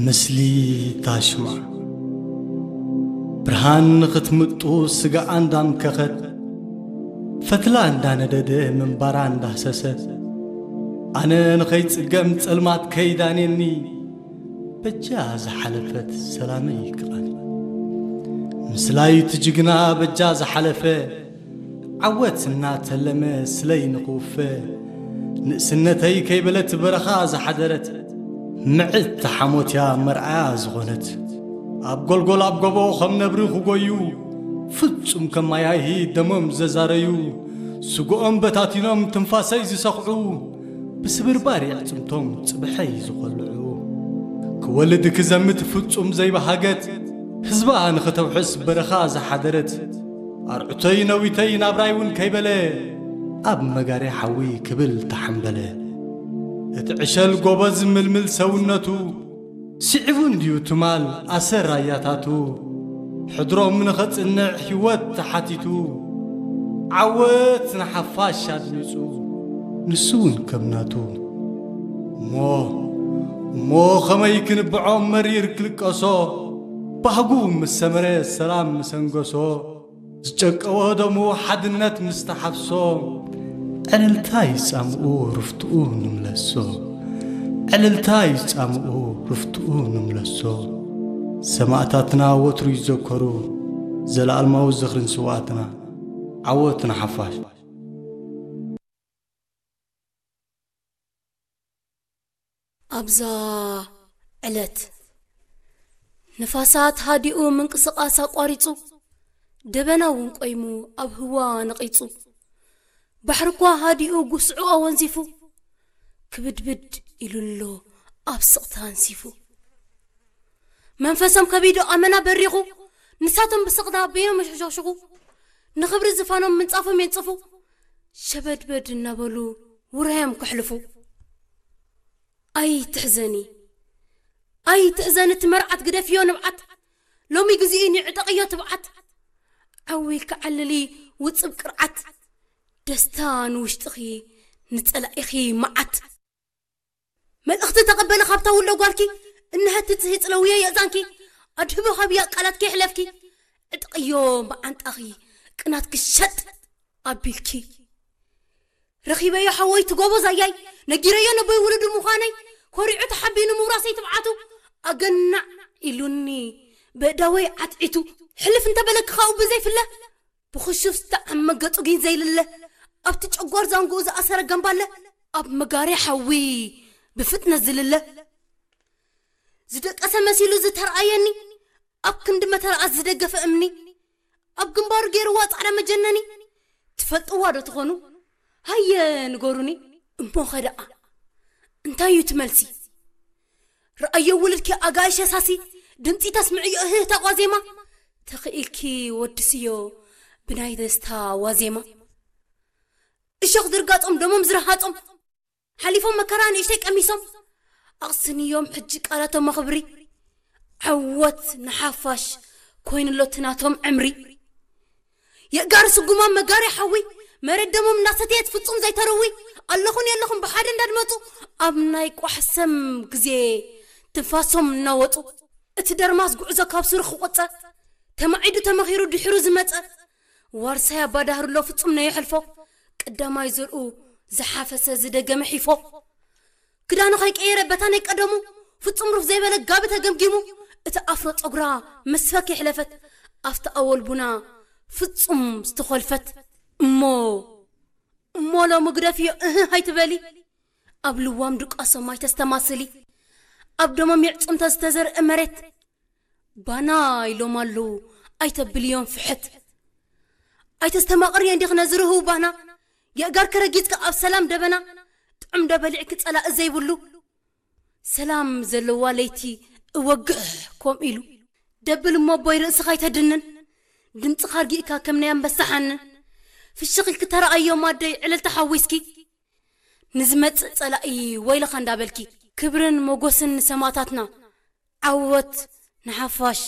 ምስሊ ታሽማ። ብርሃን ንኽትምጡ ስጋኣ እንዳምከኸት፣ ፈትላ እንዳነደደ ምንባራ እንዳህሰሰ፣ ኣነ ንኸይጽገም ጸልማት ከይዳኔኒ፣ በጃ ዝሓለፈት ሰላመይ ክቓኒ። ምስላይ እቲ ጅግና በጃ ዝሓለፈ፣ ዓወት እናተለመ ስለይ ንኽውፈ፣ ንእስነተይ ከይበለት በረኻ ዝሓደረት፣ ምዕት ተሓሞትያ መርዓያ ዝኾነት፣ ኣብ ጎልጎል ኣብ ጎቦ ከም ነብሪ ክጎዩ፣ ፍጹም ከም ማያሂ ደሞም ዘዛረዩ፣ ስግኦም በታቲኖም ትንፋሰይ ዝሰኽዑ፣ ብስብርባር የዕጽምቶም ጽብሐይ ዝኸልዑ፣ ክወልድ ክዘምት ፍጹም ዘይበሃገት፣ ህዝባ ንኽተውሕስ በረኻ ዝሓደረት፣ ኣርዑተይ ነዊተይ ናብራይ እውን ከይበለ፣ ኣብ መጋርያ ሓዊ ክብል ተሓምበለ። እቲ ዕሸል ጎበዝ ምልምል ሰውነቱ፣ ስዒቡ እንድዩ ትማል ኣሰር ኣያታቱ፣ ሕድሮም ንኸጽንዕ ህይወት ተሓቲቱ፣ ዓወት ንሓፋሽ ኣድሚጹ፣ ንሱ እውን ከም ናቱ። እሞ፣ እሞ ኸመይ ክንብዖ መሪር ክልቀሶ፣ ባህጉ ምስ ሰመረ ሰላም ምስ ኣንገሶ፣ ዝጨቀወ ደሙ ሓድነት ምስ ተሓፍሶ፣ ዕልልታ ይጻምኡ ርፍትኡ ንምለሶ፣ ዕልልታ ይጻምኡ ርፍትኡ ንምለሶ። ሰማእታትና ወትሩ ይዘከሩ፣ ዘለኣለማዊ ዝኽሪ ንስውኣትና፣ ዓወት ንሓፋሽ። ኣብዛ ዕለት ንፋሳት ሃዲኡ ምንቅስቓስ ኣቋሪጹ፣ ደበና እውን ቆይሙ ኣብ ህዋ ነቒጹ፣ ባሕሪ እኳ ሃዲኡ ጉስዑ ኣወንዚፉ፣ ክብድብድ ኢሉ ኣሎ ኣብ ስቕታ ኣንሲፉ። መንፈሶም ከቢዱ ኣመና በሪኹ፣ ንሳቶም ብስቕታ በይኖም የሸሸኽሽኹ፣ ንኽብሪ ዝፋኖም ምንጻፎም የንጽፉ፣ ሸበድበድ እናበሉ ውራዮም ከሕልፉ። ኣይትሕዘኒ፣ ኣይትሕዘኒ፣ እቲ መርዓት ግደፍዮ ንብዓት፣ ሎሚ ግዜኡ ንዕጠቕዮ ትብዓት። ዓዊ ክዓልሊ ውጽብ ቅርዓት፣ ደስታ ንውሽጥኺ ንጸላኢኺ መዓት። መልእኽቲ ተቐበለ ካብታ ውሎ ጓልኪ፣ እነሀቲ ጽሂ ጽለውዮ የእዛንኪ፣ ኣድህቦ ሃብያ ቃላት ከይሕለፍኪ፣ ዕጥቕዮ መዓንጣኺ ቅናትኪ ሸጥ ኣቢልኪ። ረኺበዮ ሓወይ ትጎቦ ዛያይ፣ ነጊረዮ ነቦይ ውሉዱ ምዃነይ፣ ኮሪዑ ተሓቢኑ ምውራሰይ ትብዓቱ፣ ኣገናዕ ኢሉኒ በእዳወይ ዓትዒቱ። ሕልፍ እንተበለኪ ካብኡ ብዘይፍለ፣ ብኽሹፍ ዝተዓመ ገጹ ግን ዘይልለ፣ ኣብቲ ጨጓር ዛንግኡ ዝኣሰረ ገምባለ፣ ኣብ መጋርያ ሓዊ ብፍጥነት ዝልለ። ዝደቀሰ መሲሉ ዝተርኣየኒ፣ ኣብ ክንዲ መተርኣስ ዝደገፈ እምኒ፣ ኣብ ግንባሩ ገይርዋ ጻዕዳ መጀነኒ። ትፈልጥዋ ዶ ትኾኑ? ሃየ ንገሩኒ። እሞኸ ደኣ እንታይ እዩ እቲ መልሲ? ረኣዮ ውልድኪ ኣጋይሽ የሳሲ፣ ድምጺ ተስምዕዮ እህህታ ቋዜማ፣ ተኽኢልኪ ወድስዮ ብናይ ደስታ ዋዜማ። እሾኽ ዝርጋጾም ደሞም ዝረሃጾም፣ ሓሊፎም መከራ ንእሽተይ ቀሚሶም፣ ኣቕስንዮም ሕጂ ቃላቶም ኣኽብሪ። ዓወት ንሓፋሽ ኮይኑሎ እቲ ናቶም ዕምሪ። የእጋር ስጉማም መጋርያ ሓዊ፣ መሬት ደሞም እናሰተየት ፍጹም ዘይተረዊ፣ ኣለኹን የለኹን ብሓደ እንዳድመጹ፣ ኣብ ናይ ቋሕሰም ግዜ ትንፋሶም እናወጹ። እቲ ደርማስ ጉዕዞ ካብ ስሩ ክቆጸ፣ ተማዒዱ ተመኺሩ ድሕሩ ዝመጸ፣ ዋርሳይ ኣባዳህርሎ ፍጹም ነየሕልፎ፣ ቀዳማይ ዘርኡ ዝሓፈሰ ዝደገመ ሒፎ። ክዳኑ ከይቀየረ በታ ናይ ቀደሙ፣ ፍጹም ሩፍ ዘይበለ ጋቢ ተገምጊሙ፣ እቲ ኣፍሮ ጸጉራ መስፈክ የሕለፈት፣ ኣብቲ ኣወል ቡና ፍጹም ዝተኾልፈት። እሞ፣ እሞ ሎሚ ግደፍዮ እህ ኣይትበሊ፣ ኣብ ልዋም ድቃሶም ኣይተስተማስሊ፣ ኣብ ደሞም የዕጽምታ ዝተዘርአ መሬት፣ ባና ኢሎም ኣለዉ ኣይተብልዮም ፍሕት። ኣይተስተማቕርዮ እንዲኽ ነዚ ርህው ባና፣ የእጋር ከረጊጽካ ኣብ ሰላም ደበና፣ ጥዑም ዶ በሊዕኪ ጸላኢ ዘይብሉ፣ ሰላም ዘለዋ ለይቲ እወግሕ ኮም ኢሉ። ደብል እሞ ኣቦይ ርእስኻ ኣይተድንን፣ ድምፅኻ ኣርጊእካ ከም ናይ ኣንበሳ ሓንን። ፍሽኽ ኢልኪ ተረኣዮም ኣደይ ዕልልታ ሓዊስኪ፣ ንዝመጽእ ጸላኢ ወይለኻ እንዳበልኪ። ክብርን ሞጎስን ንሰማእታትና፣ ዓወት ንሓፋሽ።